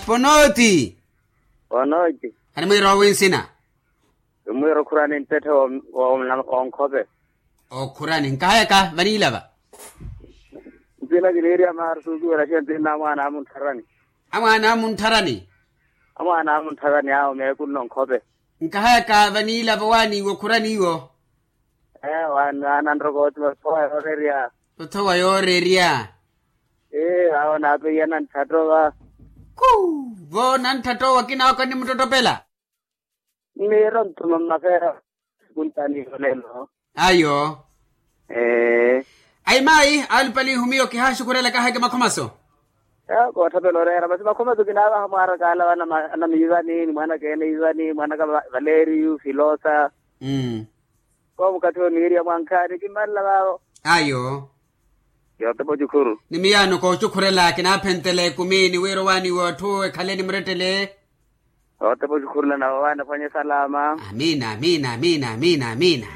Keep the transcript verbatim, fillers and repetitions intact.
Ponooti. Ponooti. Animwiira owi nsina? Imwiira okhurani nttetthe. Wonkhope. Okhurani nkahayaka vaniilava. Nsina kiniiriya maari suukiwela xiya nsinna amwaana amuntharani. Amwaana amuntharani. Amwaana amuntharani awo meekunno nkhope. Nkahayaka vaniilava owaaniiwa okhurani iwo. Ee waana ananrokooti mathowa yoorerya. Othowa yoorerya. Ee awo naapeiya nantthatowa. Kuu. Vo nantthatowa kinaaka onnimuttotopela. Mmiiro nttuma mmafeera. Kuntaani yolelo. Ayo. Ee. Ayi maayi alupali ihumiyo kihaaxukhurela kaheke makhomaso. Ee koottapela oreera masi makhomaso kinaavaha mwaarakaala vanamiivani ni mwaanakeene iivani mwaanaka valeeriyu filoosa. Koomukathi oniiriya mwankhaani kimmanla vaavo. Ayo. Yootepa ocukhuru. Ni miyaano koocukhurela kinaaphentela ekumi ni wira owaaniwa atthu ekhale ni murettele. Yootepa ocukhurela nawe owaana ephwanye salama. Amiina amiina amiina amiina amiina.